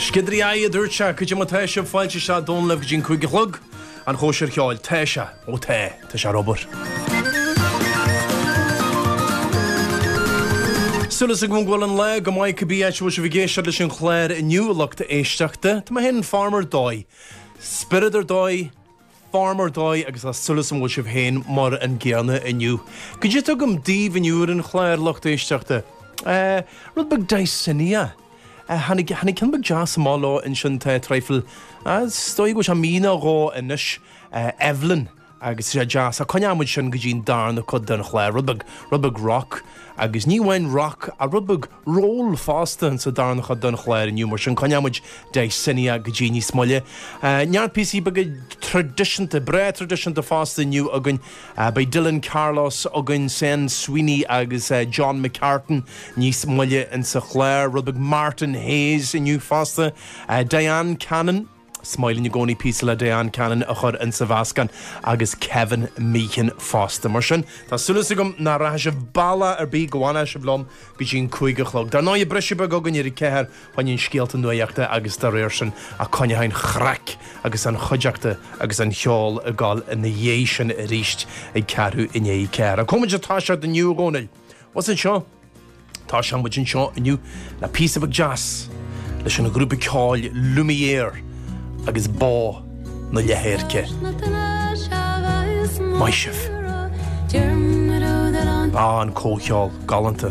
Sciodairí aghaidhe a dúirt sé, Cad é mar tá sibh, fáilte isteach Dónal libh go dtí an 5 a chlog. An chóisir cheoil, tá sé, ó tá, tá sé ar obair. Súil agam go bhfuil an lá go maith cibé áit a bhfuil sibh ag éisteacht leis an chlár inniu, a lucht éisteachta. Tá mé féin in form ar dóigh. Spiorad ar dóigh, form ar dóigh agus tá súil agam go bhfuil sibh féin mar an gcéanna inniu. Cad é atá agam daoibh inniu ar an chlár, lucht éisteachta? Eh, rud beag Dysania. Eh, tháinig, tháinig ceann beag deas amach leo ansin tá traidhfil, eh, is dóigh go bhfuil sé mí nó dhó anois, eh, Evelyn. Agus tá sé deas. Ach coinneoidh muid sin go dtí an darna cuid den chlár. Rud beag, rud beag rock. Agus ní amháin rock, ach rud beag roll fosta insa darna chuid den chlár inniu. Mar sin coinneoidh muid Dysania go dtí níos moille. Neart píosaí beaga traidisiúnta, breá traidisiúnta fosta inniu againn. Beidh Dylan Carlos againn, Seán Sweeney agus John McCartan níos moille insa chlár. Rud beag Martin Hayes inniu fosta. Diane Cannon. Is maith linn i gcónaí píosa le Diane Cannon a chur insa mheascán agus Kevin Meehan fosta. Mar sin, tá súil agam nach rachaidh sibh bealach ar bith, go bhfanfaidh sibh liom go dtí an 5 a chlog. Dar ndóigh, briseadh beag againn ar a ceathair fá choinne scéalta nuachta agus dá réir sin ach coinneoidh an chraic agus an chuideachta agus an cheol ag gabháil ina dhiaidh sin arís ag ceathrú i ndiaidh a ceathair. Ach cá bhfuil muid ag toiseacht inniu, a Dhónaill? Bhuel anseo. Toiseoidh muid anseo inniu le píosa beag deas leis an ghrúpa ceoil Lumière agus Bó na Leithdheirce. Maith sibh. Ah, an comhcheol galánta.